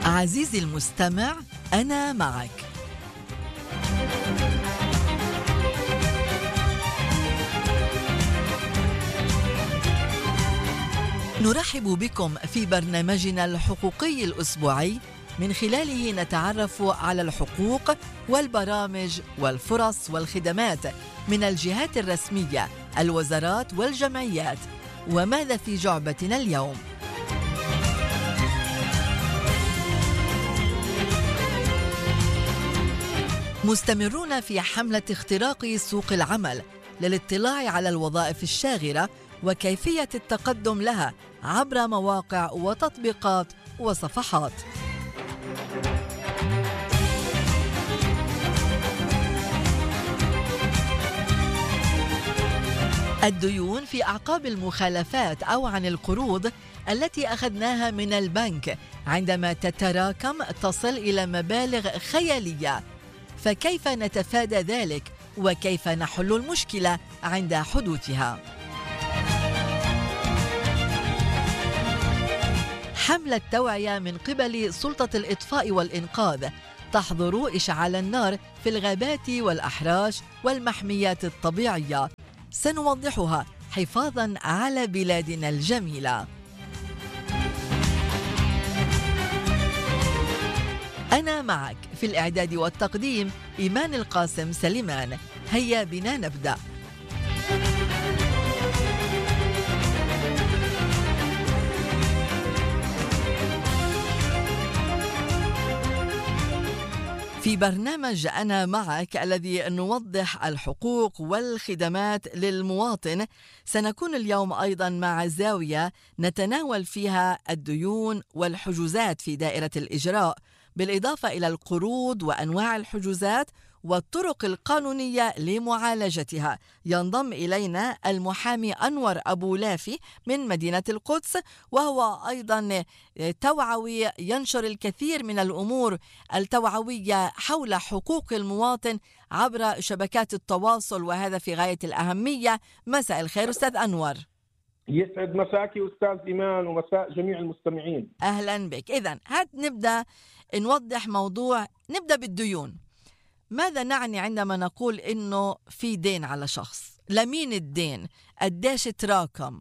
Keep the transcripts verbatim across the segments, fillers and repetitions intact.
عزيزي المستمع، أنا معك. نرحب بكم في برنامجنا الحقوقي الأسبوعي، من خلاله نتعرف على الحقوق والبرامج والفرص والخدمات من الجهات الرسمية، الوزارات والجمعيات. وماذا في جعبتنا اليوم؟ مستمرون في حملة اختراق سوق العمل للاطلاع على الوظائف الشاغرة وكيفية التقدم لها عبر مواقع وتطبيقات وصفحات. الديون في أعقاب المخالفات أو عن القروض التي أخذناها من البنك عندما تتراكم تصل إلى مبالغ خيالية، فكيف نتفادى ذلك وكيف نحل المشكلة عند حدوثها؟ حملة توعية من قبل سلطة الإطفاء والإنقاذ تحظر إشعال النار في الغابات والأحراش والمحميات الطبيعية، سنوضحها حفاظاً على بلادنا الجميلة. أنا معك في الإعداد والتقديم إيمان القاسم سليمان. هيا بنا نبدأ. في برنامج أنا معك الذي نوضح الحقوق والخدمات للمواطن، سنكون اليوم أيضا مع زاوية نتناول فيها الديون والحجوزات في دائرة الإجراء، بالإضافة إلى القروض وأنواع الحجوزات والطرق القانونية لمعالجتها. ينضم إلينا المحامي أنور أبو لافي من مدينة القدس، وهو أيضا توعوي ينشر الكثير من الأمور التوعوية حول حقوق المواطن عبر شبكات التواصل، وهذا في غاية الأهمية. مساء الخير أستاذ أنور. يسعد مساك أستاذ إيمان ومساء جميع المستمعين. أهلا بك. إذن هات نبدأ نوضح موضوع، نبدأ بالديون. ماذا نعني عندما نقول إنه في دين على شخص؟ لمين الدين؟ قديش تراكم؟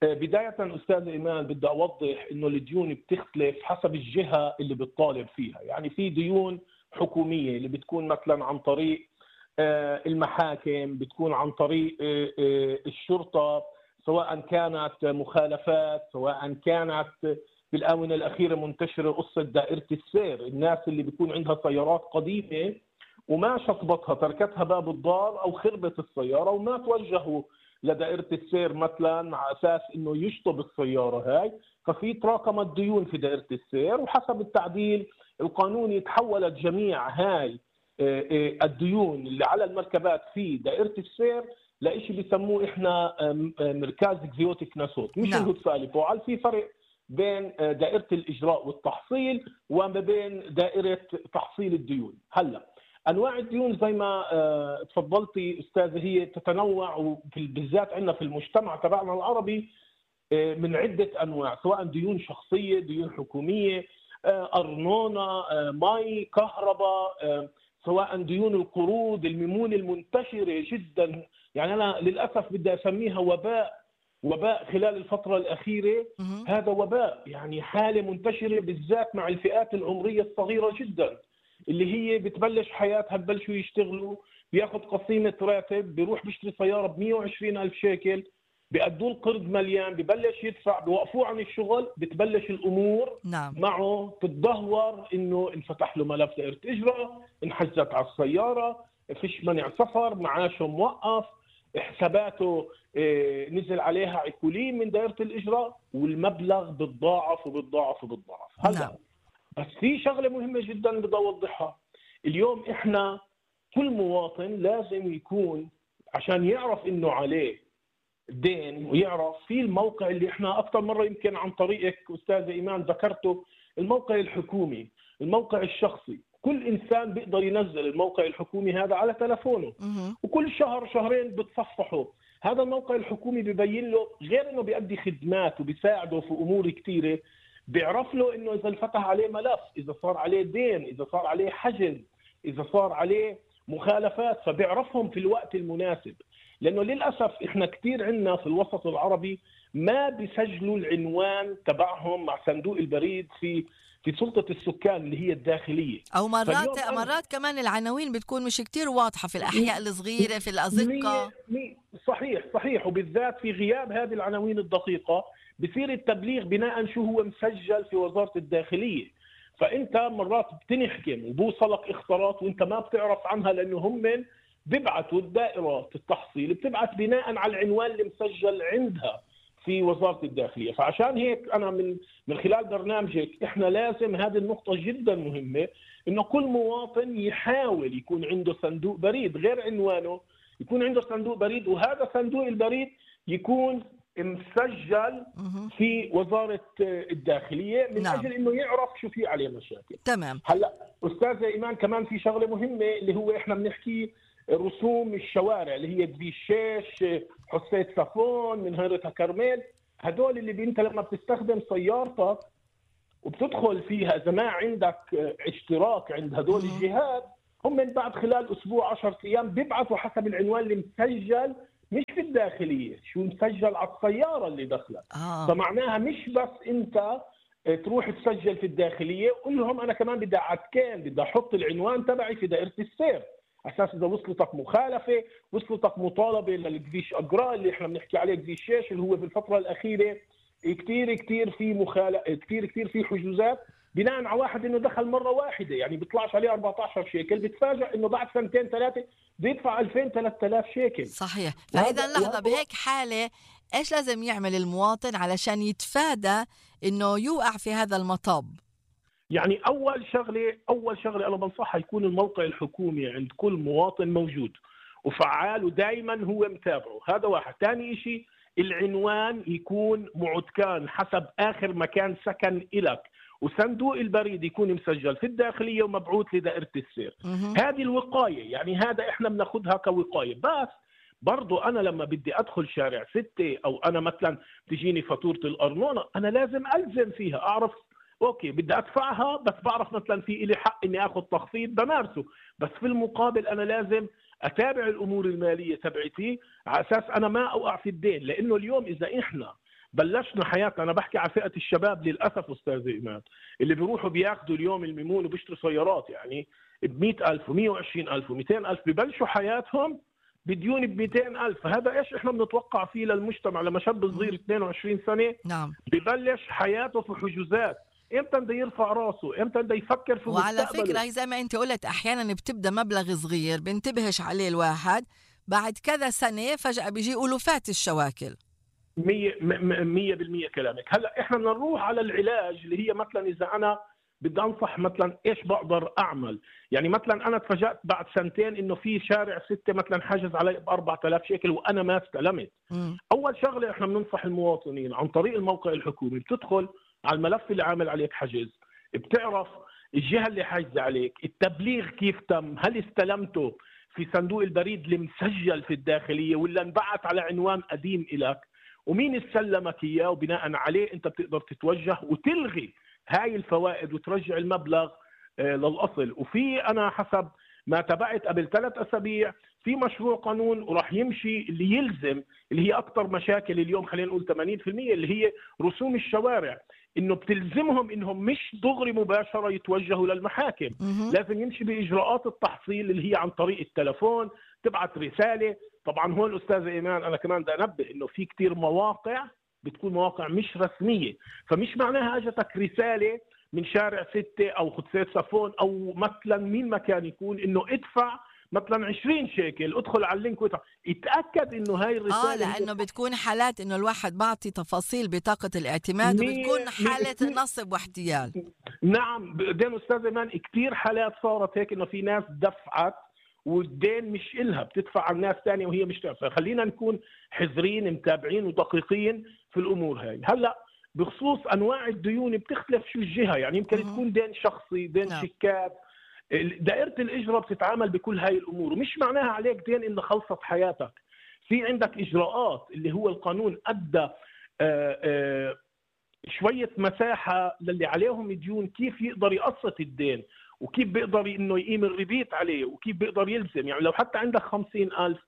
بداية أستاذ إيمان بدي أوضح إنه الديون بتختلف حسب الجهة اللي بتطالب فيها. يعني في ديون حكومية اللي بتكون مثلا عن طريق المحاكم، بتكون عن طريق الشرطة، سواء كانت مخالفات، سواء كانت بالآونة الأخيرة منتشرة قصة دائرة السير، الناس اللي بيكون عندها سيارات قديمة وما شطبتها، تركتها باب الدار أو خربت السيارة وما توجهوا لدائرة السير مثلا على أساس إنه يشطب السيارة هاي، ففي تراكمت ديون في دائرة السير، وحسب التعديل القانوني تحولت جميع هاي الديون اللي على المركبات في دائرة السير لإشي بيسموه إحنا مركز اكزيوتيك ناسوت، مش الهدفالي فوعل. في فرق بين دائرة الإجراء والتحصيل وما بين دائرة تحصيل الديون. هلا أنواع الديون زي ما تفضلتي أستاذ هي تتنوع، بالذات عندنا في المجتمع تبعنا العربي من عدة أنواع، سواء ديون شخصية، ديون حكومية، أرنونة، مي، كهرباء، سواء ديون القروض، الميمون المنتشرة جدا. يعني أنا للأسف بدي أسميها وباء، وباء خلال الفترة الأخيرة. هذا وباء، يعني حالة منتشرة بالذات مع الفئات العمرية الصغيرة جدا، اللي هي بتبلش حياتها، ببلشوا يشتغلوا، بياخد قسيمة راتب، بيروح بيشتري سيارة ب مئة وعشرين ألف شيكل، بيأدوا القرض مليان، ببلش يدفع، بيوقفوه عن الشغل، بتبلش الأمور نعم. معه تتدهور، إنه انفتح له ملف دائرة إجراء، انحجزت على السيارة، فيش منع سفر، معاشه موقف، حساباته نزل عليها عقولين من دائرة الإجراء، والمبلغ بتضاعف وبتضاعف وبتضاعف. هلا بس في شغلة مهمة جدا بدي أوضحها اليوم. إحنا كل مواطن لازم يكون عشان يعرف إنه عليه دين، ويعرف في الموقع اللي إحنا أكثر مرة يمكن عن طريقك أستاذ إيمان ذكرته، الموقع الحكومي، الموقع الشخصي. كل إنسان بيقدر ينزل الموقع الحكومي هذا على تلفونه، وكل شهر شهرين بتصفحه. هذا الموقع الحكومي بيبين له، غير إنه بيأدي خدمات وبيساعده في أمور كثيرة، بيعرف له انه اذا انفتح عليه ملف، اذا صار عليه دين، اذا صار عليه حجز، اذا صار عليه مخالفات، فبيعرفهم في الوقت المناسب. لانه للاسف احنا كثير عندنا في الوسط العربي ما بيسجلوا العنوان تبعهم مع صندوق البريد في في سلطة السكان اللي هي الداخلية. او مرات مرات كمان العناوين بتكون مش كتير واضحة في الاحياء الصغيرة في الازقة. صحيح صحيح وبالذات في غياب هذه العناوين الدقيقة بصير التبليغ بناء شو هو مسجل في وزارة الداخلية. فانت مرات بتنحكم وبوصلك اخطارات وانت ما بتعرف عنها، لانه هم بيبعتوا الدائرة التحصيل بتبعت بناء على العنوان اللي مسجل عندها في وزارة الداخلية. فعشان هيك أنا من من خلال برنامجك إحنا لازم هذه النقطة جدا مهمة، إنه كل مواطن يحاول يكون عنده صندوق بريد غير عنوانه، يكون عنده صندوق بريد، وهذا صندوق البريد يكون مسجل في وزارة الداخلية من نعم. أجل إنه يعرف شو في عليه مشاكل. تمام. هلا أستاذة إيمان كمان في شغلة مهمة اللي هو إحنا بنحكي رسوم الشوارع اللي هي دبيشيش، حسيت صفون، من هيرتها كرمال. هدول اللي انت لما بتستخدم سيارتك وبتدخل فيها اذا ما عندك اشتراك عند هدول الجهات، هم من بعد خلال اسبوع عشرة ايام بيبعثوا حسب العنوان اللي مسجل مش في الداخليه، شو مسجل على السياره اللي دخلت. آه. فمعناها مش بس انت تروح تسجل في الداخليه، قول لهم انا كمان بدي اعتكان، بدي احط العنوان تبعي في دائره السير، اساس اذا وصلتك مخالفه، وصلتك مطالبه للكفيش اجراء اللي احنا بنحكي عليه كفيشيش، اللي هو بالفتره الاخيره كثير كثير في مخالفه، كثير كثير في حجوزات بناء على واحد انه دخل مره واحده، يعني بيطلعش عليه أربعة عشر شيكل، بتفاجئ انه بعد سنتين ثلاثه بيدفع ألفين ثلاثة آلاف شيكل. صحيح. فاذا لحظه، بهيك حاله ايش لازم يعمل المواطن علشان يتفادى انه يوقع في هذا المطب؟ يعني أول شغلة أول شغلة أنا بنصحها يكون الموقع الحكومي عند كل مواطن موجود وفعال ودائما هو متابعه، هذا واحد. ثاني شيء العنوان يكون معتكان حسب آخر مكان سكن إلك، وصندوق البريد يكون مسجل في الداخلية ومبعوث لدائرة السير. هذه الوقاية، يعني هذا إحنا بناخذها كوقاية. بس برضو أنا لما بدي أدخل شارع ستة أو أنا مثلا تجيني فاتورة الأرنونة، أنا لازم ألزم فيها، أعرف اوكي بدي ادفعها، بس بعرف مثلا في لي حق اني اخذ تخفيض بمارسه، بس في المقابل انا لازم اتابع الامور الماليه تبعتي على اساس انا ما اوقع في الدين. لانه اليوم اذا احنا بلشنا حياتنا، انا بحكي على فئه الشباب للاسف استاذ ايمان، اللي بيروحوا بياخذوا اليوم الميمون وبيشتروا سيارات يعني ب مئة ألف ومئة وعشرين ألف ومئتين ألف، ببلشوا حياتهم بديون ب مئتين ألف. هذا ايش احنا بنتوقع فيه للمجتمع لما شاب صغير اثنين وعشرين سنه نعم ببلش حياته في حجوزات؟ امتى بده يرفع راسه؟ امتى بده يفكر في وعلى مستقبله؟ فكره زي ما انت قلت احيانا بتبدا مبلغ صغير بنتبهش عليه الواحد، بعد كذا سنه فجاه بيجي ألوفات الشواكل. مية مية بالمية كلامك. هلا احنا بدنا نروح على العلاج اللي هي مثلا اذا انا بدي انصح مثلا ايش بقدر اعمل. يعني مثلا انا تفاجأت بعد سنتين انه في شارع ستة مثلا حاجز علي ب أربعة آلاف شيكل وانا ما استلمت. م. اول شغله احنا بننصح المواطنين عن طريق الموقع الحكومي، بتدخل على الملف اللي عامل عليك حجز، بتعرف الجهه اللي حاجزه عليك، التبليغ كيف تم، هل استلمته في صندوق البريد اللي مسجل في الداخليه ولا انبعث على عنوان قديم إلك، ومين استلمك اياه، وبناء عليه انت بتقدر تتوجه وتلغي هاي الفوائد وترجع المبلغ للاصل. وفي انا حسب ما تابعت قبل ثلاث اسابيع في مشروع قانون وراح يمشي اللي يلزم اللي هي اكثر مشاكل اليوم، خلينا نقول ثمانين بالمئة، اللي هي رسوم الشوارع، انه بتلزمهم انهم مش دغري مباشره يتوجهوا للمحاكم، مه. لازم يمشي باجراءات التحصيل اللي هي عن طريق التلفون، تبعت رساله. طبعا هون استاذ ايمان انا كمان بدي انبه انه في كثير مواقع بتكون مواقع مش رسميه، فمش معناها اجتك رساله من شارع ستة او خدسات صفون او مثلا مين ما كان يكون انه ادفع مثلا عشرين شيكل، ادخل على اللينك وتع... اتاكد انه هاي الرساله اه لانه بتكون حالات انه الواحد بعطي تفاصيل بطاقه الاعتماد وبتكون حاله نصب واحتيال. نعم بعدين استاذ ايمان كثير حالات صارت هيك انه في ناس دفعت والدين مش إلها، بتدفع على الناس ثانيه وهي مش تعرف. خلينا نكون حذرين متابعين ودقيقين في الامور هاي. هلا بخصوص انواع الديون بتختلف شو الجهه، يعني يمكن مم. تكون دين شخصي، دين نعم. شيكات، دائره الاجراء بتتعامل بكل هاي الامور، ومش معناها عليك دين انه خلصت حياتك. في عندك اجراءات اللي هو القانون ادى آآ آآ شوية مساحة للي عليهم ديون كيف يقدر يقسط الدين، وكيف بيقدر إنه يقيم الربيت عليه، وكيف بيقدر يلزم. يعني لو حتى عندك خمسين ألف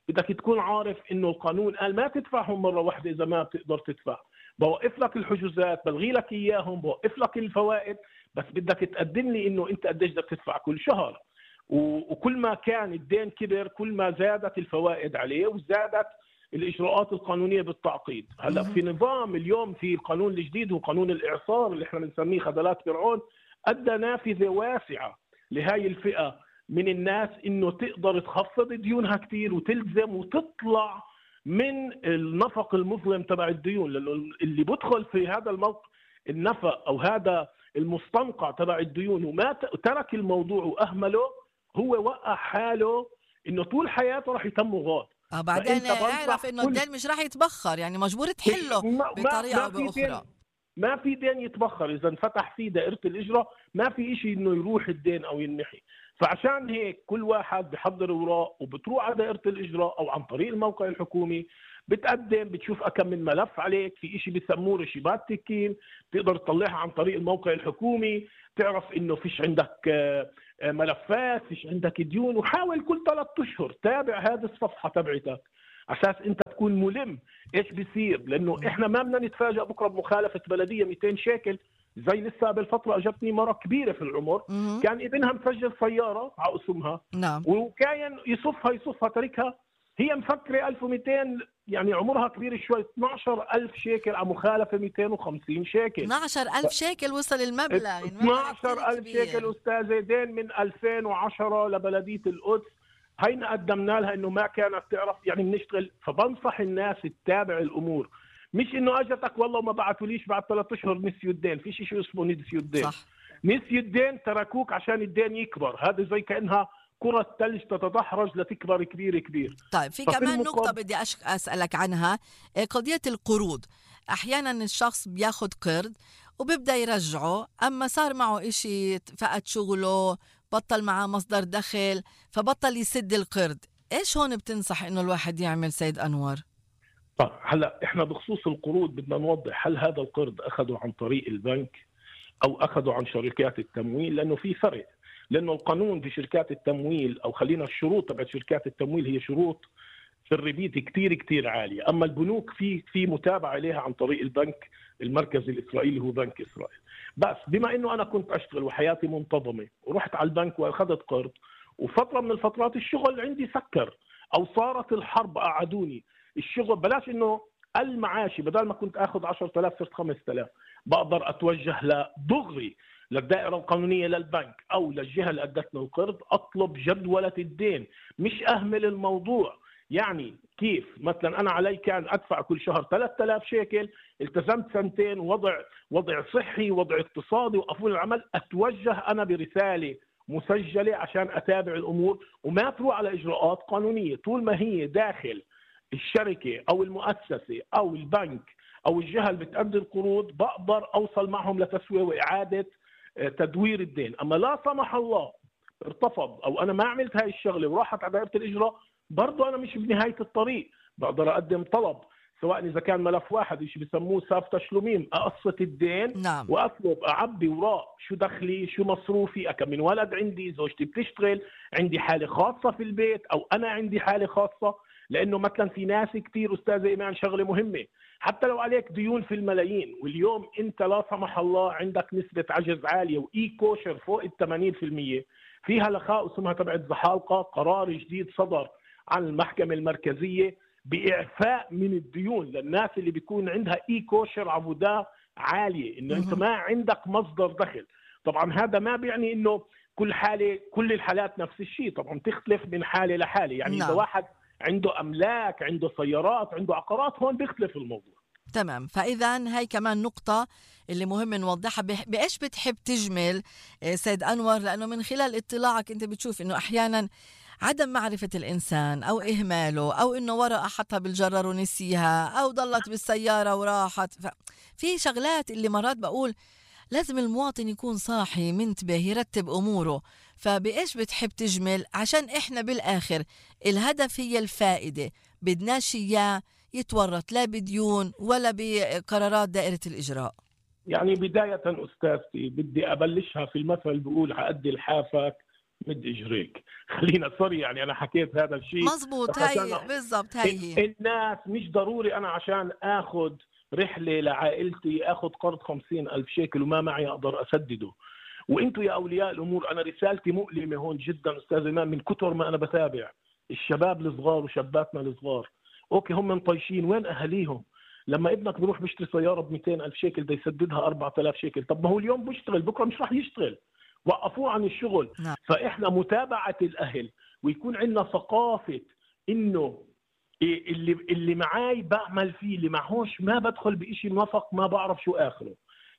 بدك تكون عارف إنه القانون قال ما تدفعهم مرة واحدة إذا ما بتقدر تدفع، بوقف لك الحجوزات، بلغي لك إياهم، بوقف لك الفوائد، بس بدك تقدم لي إنه أنت قديش بدك تدفع كل شهر. وكل ما كان الدين كبر كل ما زادت الفوائد عليه وزادت الإجراءات القانونية بالتعقيد. هلا في نظام اليوم في القانون الجديد وقانون الإعصار اللي احنا بنسميه خذلات فرعون، أدى نافذة واسعة لهاي الفئة من الناس إنه تقدر تخفض ديونها كتير وتلزم وتطلع من النفق المظلم تبع الديون. لأنه اللي بدخل في هذا الموقع النفق أو هذا المستنقع تبع الديون وما ترك الموضوع وأهمله، هو وقع حاله إنه طول حياته راح يتم غاض. اه بعدين اعرف انه الدين مش راح يتبخر، يعني مجبور تحله بطريقه او باخرى. ما في دين يتبخر، اذا انفتح فيه دائره الاجراء ما في شيء انه يروح الدين او ينمحي. فعشان هيك كل واحد بحضر اوراق وبتروح على دائره الاجراء او عن طريق الموقع الحكومي، بتقدم، بتشوف كم من ملف عليك، في شيء بيسموه رشيبات تكين بتقدر تطلعها عن طريق الموقع الحكومي، تعرف انه فيش عندك ملفات، فيش عندك ديون. وحاول كل ثلاثة اشهر تابع هذه الصفحه تبعتك اساس انت تكون ملم ايش بيصير. لانه احنا ما بدنا نتفاجئ بكره بمخالفه بلديه مئتين شيكل. زي لسه بالفتره اجتني مره كبيره في العمر مم. كان ابنها مسجل سياره على اسمها، نعم، وكان يصفها يصفها تركها، هي مفكره ألف ومئتين، يعني عمرها كبير شوي، اثني عشر ألف شيكل على مخالفه مئتين وخمسين شيكل. اثني عشر ألف شيكل وصل المبلغ، يعني اثني عشر ألف شيكل استاذه، دين من ألفين وعشرة لبلديه القدس. هينا قدمنا لها انه ما كانت تعرف، يعني بنشتغل. فبنصح الناس تتابع الامور، مش انه اجتك والله وما بعثوليش بعد ثلاث اشهر نسيوا الدين. في شيء اسمه نسيوا الدين، صح. نسيوا الدين تركوك عشان الدين يكبر. هذا زي كانها كرة ثلج تتدحرج لتكبر كبير كبير. طيب في كمان نقطة بدي أسألك عنها، قضية القروض. أحيانا الشخص بياخد قرض وبيبدأ يرجعه، أما صار معه إشي، فقد شغله، بطل معه مصدر دخل، فبطل يسد القرض. إيش هون بتنصح إنه الواحد يعمل سيد أنور؟ طيب هلا إحنا بخصوص القروض بدنا نوضح، هل هذا القرض أخذه عن طريق البنك أو أخذه عن شركات التمويل؟ لأنه في فرق. لأنه القانون في شركات التمويل، أو خلينا الشروط تبع شركات التمويل هي شروط في الربيت كتير كتير عالية. أما البنوك في في متابعة عليها عن طريق البنك المركزي الإسرائيلي، هو بنك إسرائيل. بس بما إنه أنا كنت أشتغل وحياتي منتظمة ورحت على البنك وأخذت قرض، وفترة من الفترات الشغل عندي سكر أو صارت الحرب قعدوني الشغل، بلاش إنه المعاشي بدل ما كنت أخذ عشرة آلاف صرت خمسة آلاف، بقدر أتوجه لدغري للدائرة القانونية للبنك أو للجهة اللي أدتنا القرض، أطلب جدولة الدين، مش أهمل الموضوع. يعني كيف مثلا أنا علي كان أدفع كل شهر ثلاثة آلاف شيكل، التزمت سنتين، وضع وضع صحي، وضع اقتصادي، وقفول العمل، أتوجه أنا برسالة مسجلة عشان أتابع الأمور وما تروح على إجراءات قانونية. طول ما هي داخل الشركة أو المؤسسة أو البنك أو الجهة اللي بتأدي القروض، بقدر أوصل معهم لتسوية وإعادة تدوير الدين. أما لا سمح الله ارتفض أو أنا ما عملت هاي الشغلة وراحت على دائرة الإجراء، برضو أنا مش بنهاية الطريق، بقدر أقدم طلب، سواء إذا كان ملف واحد إيش بيسموه ساف تشلوميم، أقسط الدين. نعم. وأطلب أعبي وراء شو دخلي، شو مصروفي، أكم من ولد عندي، زوجتي بتشتغل، عندي حالة خاصة في البيت أو أنا عندي حالة خاصة. لأنه مثلا في ناس كتير أستاذ إيمان، شغلة مهمة، حتى لو عليك ديون في الملايين واليوم أنت لا سمح الله عندك نسبة عجز عالية وإي كوشر فوق الثمانين بالمئة، فيها لخاء اسمها تبعت زحالقة، قرار جديد صدر عن المحكمة المركزية بإعفاء من الديون للناس اللي بيكون عندها إي كوشر عبودة عالية، إنه أنت ما عندك مصدر دخل. طبعا هذا ما بيعني إنه كل حالة كل الحالات نفس الشيء، طبعا تختلف من حالة لحالة. يعني نعم. إذا واحد عنده أملاك، عنده سيارات، عنده عقارات، هون بيختلف الموضوع. تمام. فإذا هاي كمان نقطة اللي مهم نوضحها. بإيش بتحب تجمل سيد أنور؟ لأنه من خلال اطلاعك أنت بتشوف إنه أحيانا عدم معرفة الإنسان أو إهماله أو إنه ورقة حطها بالجرر ونسيها أو ضلت بالسيارة وراحت. في شغلات اللي مرات بقول لازم المواطن يكون صاحي منتبه يرتب أموره. فبإيش بتحب تجمل عشان إحنا بالآخر الهدف هي الفائدة، بدناش إياه يتورط لا بديون ولا بقرارات دائرة الإجراء؟ يعني بداية أستاذتي بدي أبلشها في المثل بقول عقد لحافك مد إجريك. خلينا سوري يعني أنا حكيت هذا الشيء مزبوط، هاي بالضبط هاي الناس مش ضروري أنا عشان أخذ رحلة لعائلتي أخذ قرض خمسين ألف شيكل وما معي أقدر أسدده. وانتم يا اولياء الامور انا رسالتي مؤلمه هون جدا استاذ امام من كثر ما انا بتابع الشباب الصغار وشاباتنا الصغار. اوكي هم مطيشين، وين اهاليهم؟ لما ابنك بيروح بيشتري سياره ب مئتين ألف شيكل بده يسددها أربعة آلاف شيكل، طب ما هو اليوم بيشتغل بكره مش راح يشتغل، وقفوه عن الشغل. نعم. فاحنا متابعه الاهل ويكون عندنا ثقافه انه اللي اللي معاي بعمل فيه، اللي معهوش ما بدخل بشيء موفق ما بعرف شو اخره.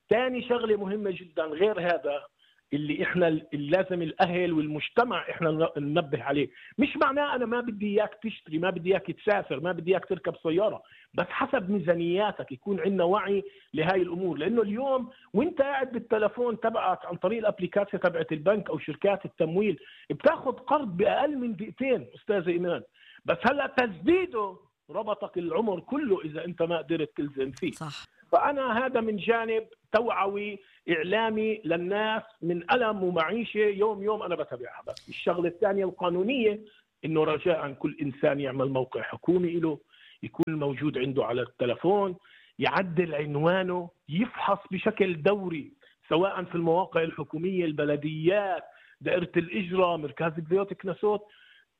ثاني شغله مهمه جدا غير هذا اللي احنا اللي لازم الاهل والمجتمع احنا ننبه عليه، مش معناه انا ما بدي اياك تشتري، ما بدي اياك تسافر، ما بدي اياك تركب سياره، بس حسب ميزانياتك يكون عندنا وعي لهاي الامور. لانه اليوم وانت قاعد بالتلفون تبعك عن طريق الابليكاسيون تبعت البنك او شركات التمويل بتاخذ قرض باقل من دقيقتين استاذ ايمان، بس هلا تسديده ربطك العمر كله اذا انت ما قدرت تلزم فيه. صح. فأنا هذا من جانب توعوي إعلامي للناس من ألم ومعيشة يوم يوم أنا بتابعها. بس الشغلة الثانية القانونية إنه رجاء كل إنسان يعمل موقع حكومي له، يكون موجود عنده على التلفون، يعدل عنوانه، يفحص بشكل دوري سواء في المواقع الحكومية، البلديات، دائرة الإجرة، مركز البيوت كنسوت.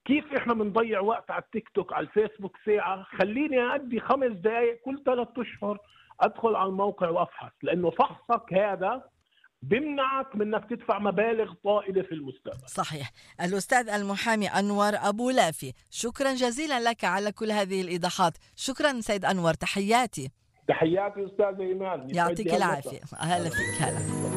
كيف احنا بنضيع وقت على التيك توك على الفيسبوك ساعة؟ خليني أدي خمس دقائق كل ثلاثة أشهر أدخل على الموقع وأفحص، لأنه فحصك هذا بمنعك من أنك تدفع مبالغ طائلة في المستقبل. صحيح. الأستاذ المحامي أنور أبو لافي، شكرا جزيلا لك على كل هذه الإيضاحات. شكرا سيد أنور، تحياتي. تحياتي أستاذ إيمان، يعطيك العافية. أهلا فيك. هلا.